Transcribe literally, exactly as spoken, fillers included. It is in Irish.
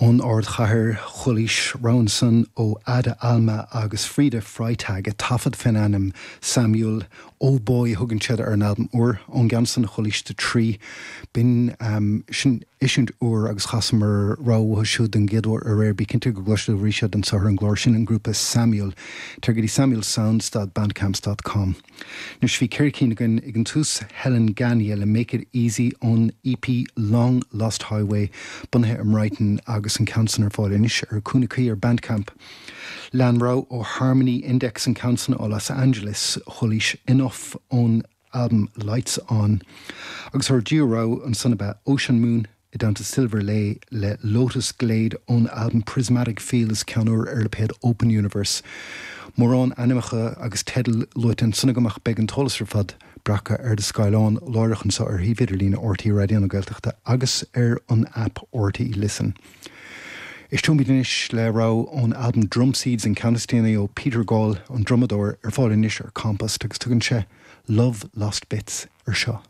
Ón ardchathair chualaís rogha ansan ó Ada Alma agus Frida Freitag ag taifead faoin ainm Samuel Oh Boy thugann siad ar an albam úr ón gceann san chualaís The Tree. B'in um, sin eisiúint úr agus chasamar rogha uathu siúd den gcéad uair aréir bí cinnte go gcloisfidh tú arís iad anseo ar an gclár sin an grúpa Samuel tar go dtí samuelsounds.bandcamp.com. Anois bhí ceithre cinn againn ag an tús Helen Gagne le Make It Easy ón EP Long Lost Highway bunaithe i mBrighton agus an ceann san ar fáil anois ar Cúnacaí ar Bandcamp. Lean rogha ó Harmony Index an ceann san ó Los Angeles chualaís Enough ón album Lights On. Agus ár dtríú rogha ansan ab ea Ocean Moon i dteannta Silver Lay le Lotus Glade ón album Prismatic Fields ceann úr ar lipéad Open Universe. Mórán ainmneacha agus teidil luaite ansan agam ach beidh an t-eolas ar fad breactha ar do scáileán láithreach anseo ar shuíomh idirlín RTÉ Raidió na Gaeltachta agus ar an app RTÉ Listen. Éisteoimid anois le rogha ón album Drum Seeds an ceann is déanaí ó Peter Gall an drumadóir ar fáil anois ar Compost agus tugann sé Love Lost Bits ar seo.